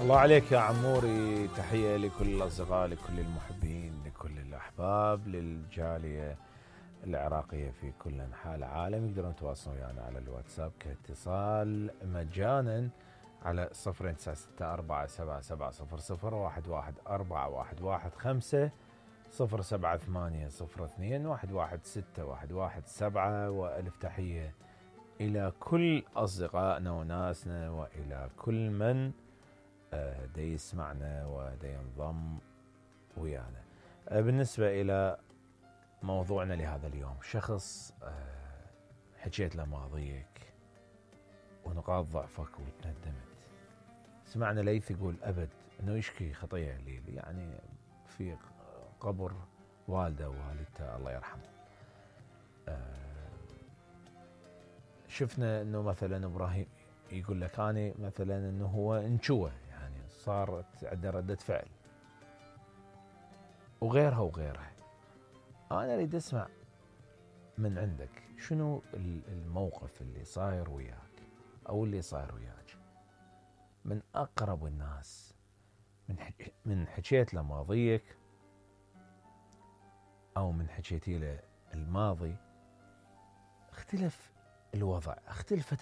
الله عليك يا عموري. تحية لكل الأصدقاء، لكل المحبين، لكل الأحباب، للجالية العراقية في كل أنحاء العالم. يقدرون يتواصلون ويانا على الواتساب كاتصال مجانا على 09677700111415 07802111617. وألف تحية إلى كل أصدقائنا وناسنا وإلى كل من دا يسمعنا ودا ينضم ويانا. بالنسبة إلى موضوعنا لهذا اليوم، شخص حكيت له ماضيك ونقاط ضعفك وتندمت. سمعنا ليث يقول أبد أنه يشكي خطية ليلي، يعني في قبر والده ووالدته الله يرحمه. شفنا أنه مثلا إبراهيم يقول لك أنا مثلا أنه هو انشوه، يعني صارت عنده ردة فعل، وغيرها وغيرها. أنا أريد أسمع من عندك شنو الموقف اللي صاير وياك أو اللي صاير وياك من أقرب الناس، من حكيت له ماضيك أو من حكيتي له الماضي، اختلف الوضع، اختلفت